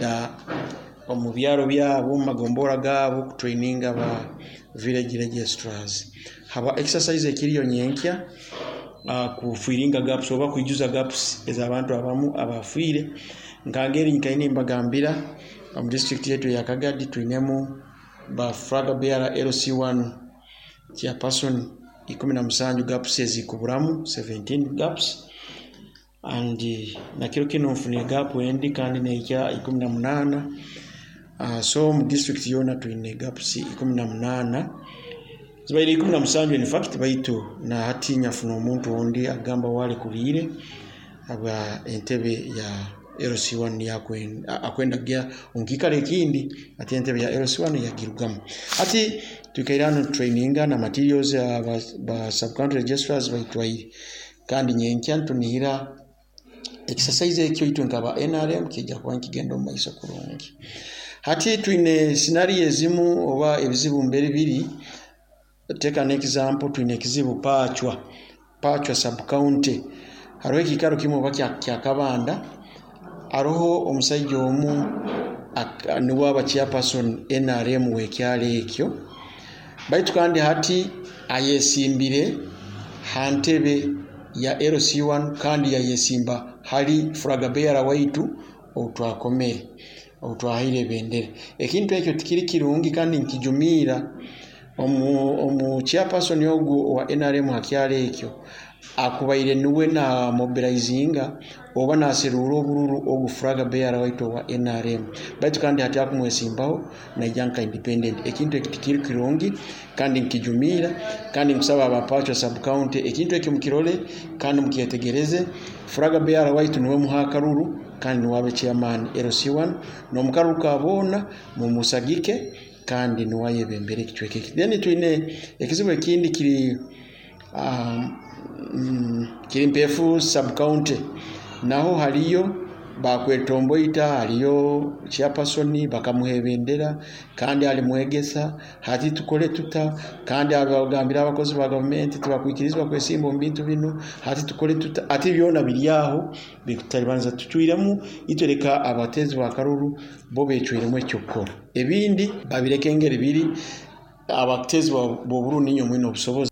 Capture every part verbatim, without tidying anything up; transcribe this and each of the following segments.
kugenda omu byaro byabo, omu magombora gaabo, kutraininga ba village registrars haba exercise ekiriyo nyenkya, uh, kufillinga gaps oba kwijuza gaps ez'abantu abamu abafiire. Nkangeri nkaine mbagambira, omu district yetu eya Kagadi twinemu ba flag bearer L C one chairperson ikumi na musanju, gaps ezikuburamu seventeen gaps, and nakiro kinu nfunire gap endi kandi nehikya ikumi na munaana. uh, so mu district yoona twine gaps ikumi na munaana, zibaire ikumi na musanju in fact, baitu na hati nyafuna omuntu ondi agamba walekuliire habwa entebe ya L C one yakwenda, akwenda kugya omu kiikaro ekindi, ati entebe ya L C one yagirugamu. Hati twikaire hanu traininga na materials aba ba sub-county registrars baitwaire, kandi nyenkya ntunihira exercise ekyo itwe nkaba N R M kijja kuba nikigenda omu maiso kurungi. Hati twine scenario ezimu oba ebizibu mbere biri. Take an example, twine ekizibu Pachwa Pachwa sub county, hariho ekiikaro kimu oba kya, kya Kabanda, haroho omusaija omu niwe aba chairperson N R M w'ekyalo ekyo, baitu kandi hati ayesimbire ha ntebe ya L C one, kandi yayesimba hali flag bearer waitu outwakomere, outwahaire ebendera. Ekintu ekyo tikiri kirungi kandi nkijumiira. omu, omu chairperson ogu owa N R M ha kyalo ekyo akubaire niwe na mobilizinga oba naseruura obururu ogu flag bearer waitu owa N R M, baitu kandi hati akumwesimbaho naija nka independent. Ekintu eki tikiri kirungi kandi nkijumiira, kandi nkusaba aba Pachwa sub county ekintu ekyo mukirole kandi mukyetegereze. Flag bearer waitu niwe muha akaruru kandi niwe abe chairman L C one n'omukaruru ka boona mumusagike kandi niwe ayebembere ekicweka eki. Then twine ekizibu ekindi kiri um, mm, kiri Mpeefu sub county, naho haliyo bakwetomboita, haliyo chairperson bakamuha ebendera kandi ali mwegesa. Hati tukole tuta? Kandi abagambira abakozi ba gavumenti tibakwikirizibwa kwesimba omu bintu binu. Hati tukole tuta? Ati byona biri aho bikutalibanza, tucwiremu itwe, leka abatezi bakaruru bo becwiremu ekyokukora, ebindi babireke engeri biri. Abatezi b'obururu ninyo mwine obusobozi.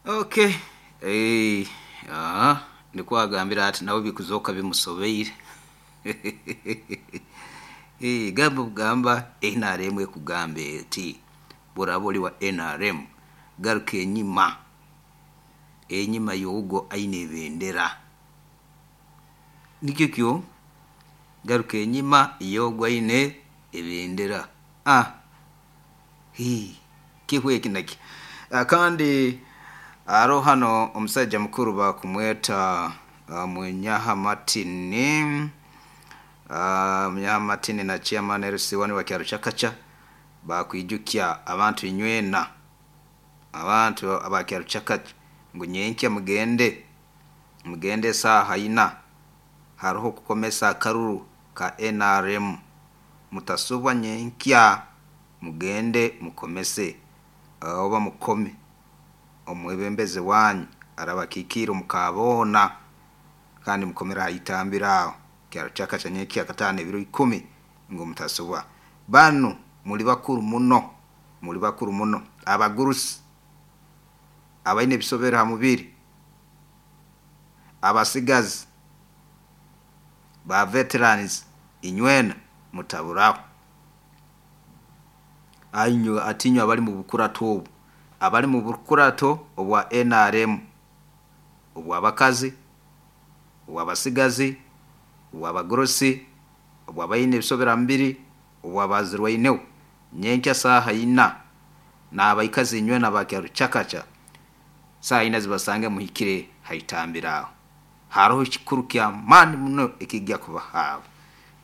Okay, eh ah niko agambira ati nawe bikuzoka bimusobeire. Eh gamba kugamba N R M ekugamba eti buraba oli wa N R M, garuka enyima, enyima yogo aine ebendera, nikyo kyo garuka enyima yogo aine ebendera. Ah hi kihwe eki naki. Kandi aro hano omusajja mukuru bakumweta uh, Munyaha Martin, uh, Munyaha Martin na chairman L C one wa kyaro Kyakacha bakwijukya abantu inywena, abantu abakyaro Kyakacha, ngu nyenkya mugende mugende saaha ina, hariho kukomesa akaruru ka N R M. Mutasubwa, nyenkya mugende mukomese oba mukome omwebembezi wanyu arabakikiire omukaboona, kandi mukomere ahitambira aho kyaro Kyakacha nyenkya kataano ebiro ikumi, ngu mutasubwa. Banu muli bakuru muno, muli bakuru muno, abagurusi, abaine ebisobero ha mubiri, abasigazi ba veterans, inywena mutaburaho. Ainyo atinywe abali mu bukurato obu, abali mu bukurato obwa N R M, obw'abakazi, obw'abasigazi, obw'abagurusi, obw'abaine ebisobera mubiri, obw'abazirwaineho, nyenkya saaha ina n'abaikazi inywena abakyaro Kyakacha, saaha ina zibasange muhikire haitambira aho, haroho ekikuru ky'amaani muno ekijja kubahaabo,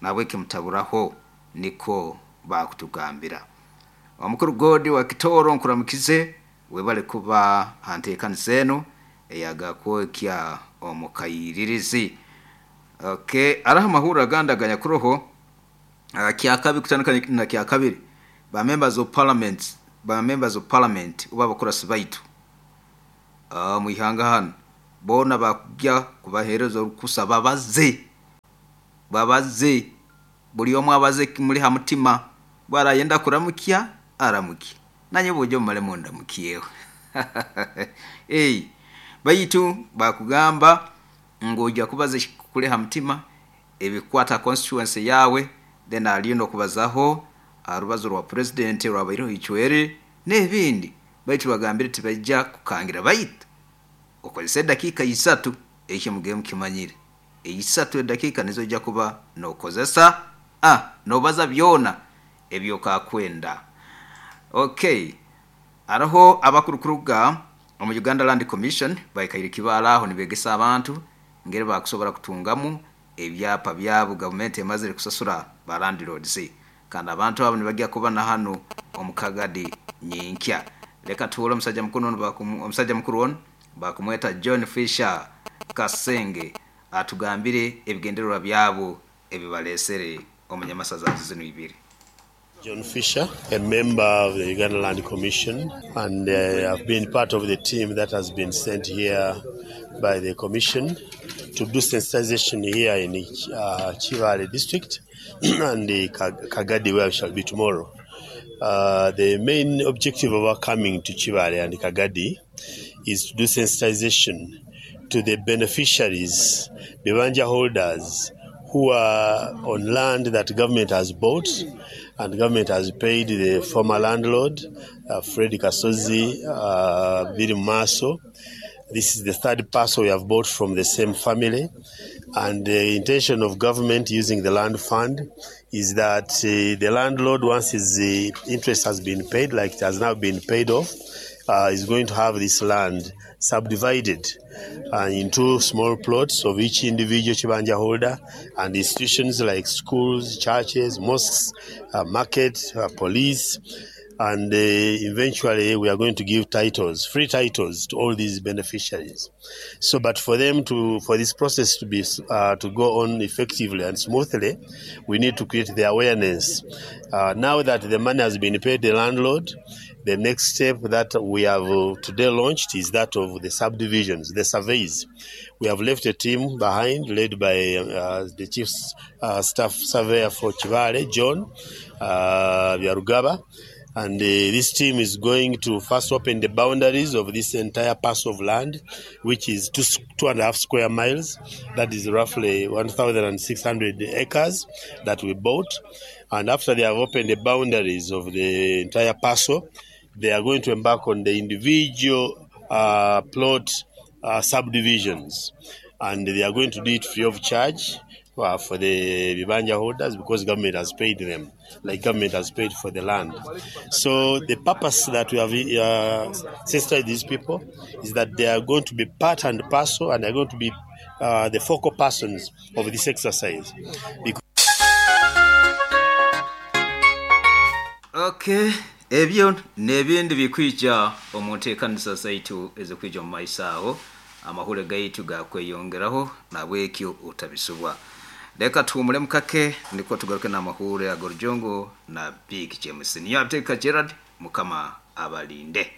nabweki mutaburaho, niko bakutugambira. Omukuru Godi wa Kitoro, nkuramukize, webale kuba hanteekaniza eno eyagakwokya omukayiririzi. Okay, araho amahuriro agandi aganyakuroho uh, kyakabi kutandika na kyakabiri, ba members of parliament ba members of parliament oba abakurasi baitu uh, mwihanga hano boona bakujya kubaheereza orukusa babaze. Babaze buli omu abaze kimuli ha mutima, bwarayenda kuramukya aramukye, nanye bujo mumale mundamukyeho. Hey, baitu bakugamba ngu ojja kubaza kuli ha mutima ebikwata constituency yawe, then aliyo nokubazaho arubazo rwa president rwabaireho Icwere n'ebindi. Baitu bagambire tibajja kukangira, baitu okozesa edakiika isatu, ekyo mugeye mukimanyire, isatu edakiika nizo ojja kuba nokozesa ah, nobaza byona ebyokakwenda. Okay, araho abakurukuruga omu Uganda Land Commission baikaire kibaala aho nibegesa abantu ngeri bakusobora kutungamu ebyapa byabo gavumenti emazire kusasura ba landlords, kandi abantu abo nibajya kuba na hano omu Kagadi nyinkya. Leka tuhure omusajja mukuru ono, bakumu-, omusajja mukuru ono bakumweta John Fisher Kasenge atugambire ebigendererwa byabo ebibalesere omunyamasaza zino ibiri. John Fisher, a member of the Uganda Land Commission, and, uh, I've been part of the team that has been sent here by the Commission to do sensitization here in, uh, Kibaale district and the Kagadi, where we shall be tomorrow. Uh, the main objective of our coming to Kibaale and Kagadi is to do sensitization to the beneficiaries, the bibanja holders, who are on land that government has bought and government has paid the former landlord, uh, Fred Kasozi, uh, Biri Maso. This is the third parcel we have bought from the same family. And the intention of government using the land fund is that, uh, the landlord, once his, uh, interest has been paid, like it has now been paid off, uh, is going to have this land subdivided, uh, into small plots of each individual Kibanja holder, and institutions like schools, churches, mosques, uh, market, uh, police, and, uh, eventually we are going to give titles, free titles to all these beneficiaries. So, but for them to, for this process to be, uh, to go on effectively and smoothly, we need to create the awareness. Uh, now that the money has been paid the landlord, the next step that we have, uh, today launched is that of the subdivisions, the surveys. We have left a team behind led by, uh, the chief, uh, staff surveyor for Kibaale, John, uh, Byarugaba. And, uh, this team is going to first open the boundaries of this entire parcel of land, which is two, two and a half square miles. That is roughly one thousand six hundred acres that we bought. And after they have opened the boundaries of the entire parcel, they are going to embark on the individual, uh, plot, uh, subdivisions. And they are going to do it free of charge, uh, for the Bibanja holders, because government has paid them, like government has paid for the land. So the purpose that we have, uh, sensitized these people is that they are going to be part and parcel, and they are going to be, uh, the focal persons of this exercise. Because Okay, ebyo n'ebindi bikwija omu nteekanisa zaitu ezikwija omu maiso aho, amahule gaitu gakweyongeraho nabwekyo otabisubwa. Leka tuwumule mukake niko tugaruke n'amahure ag'Orujongo na Big James. Niyo Abuteeka Gerard, Mukama abalinde.